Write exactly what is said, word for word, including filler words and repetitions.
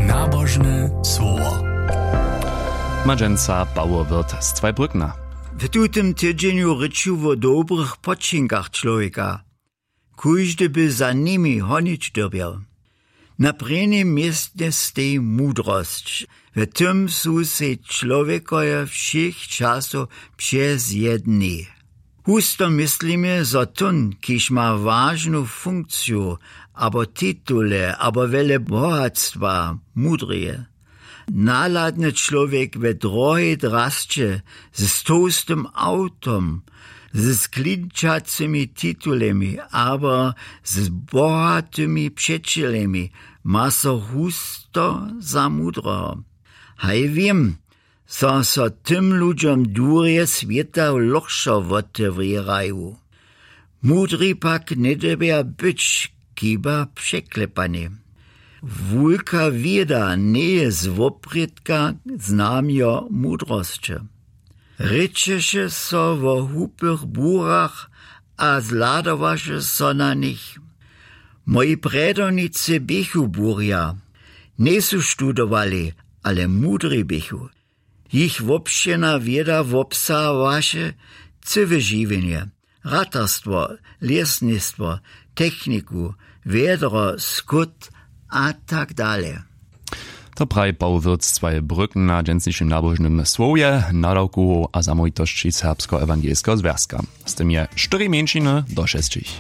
Nabožne słowo. Madźenca Pawoł Wirth z Zweibrückna. W tutym tydźenju rěču wo dobrych počinkach čłowjeka. Kóždy by za nimi honić dyrbjał. Na prěnim městnje steji mudrosć. W tym su sej čłowjekoje wšěch časow přezjedni. Husto myslimy, zo tón, kiž ma wažnu funkciju, abo titule, abo wjele bohatstwa, mudrje. Nahladny čłowjek we drohej drasće, z tołstym awtom, z sklinčacymi titulemi abo z bohatymi přećelemi, ma so husto za mudreho. Haj wěm, zo so tym ludźom durje swěta lochšo wotewrěraju. Mudri pak njedyrbja być, chiba překlepani. Wulka wěda njeje z woprědka znamjo mudrosće. Rěčeše so wo hłupych burach a zhladowaše so na nich. Moji prjedownicy běchu burja, njejsu študowali, ale mudri běchu. Jich wobšěrna wěda wobsahowaše cyłe žiwjenje, ratarstwo, lěsnistwo, techniku, wjedro, skót a tak dale. To praji Pawoł Wirth z Zweibrückna w dźensnišim nabožnym słowje, nadawkowow a zamołwitosći Serbskeho ewangelskeho zwjazka. Z tym je štyri mjeńšiny do šesćich.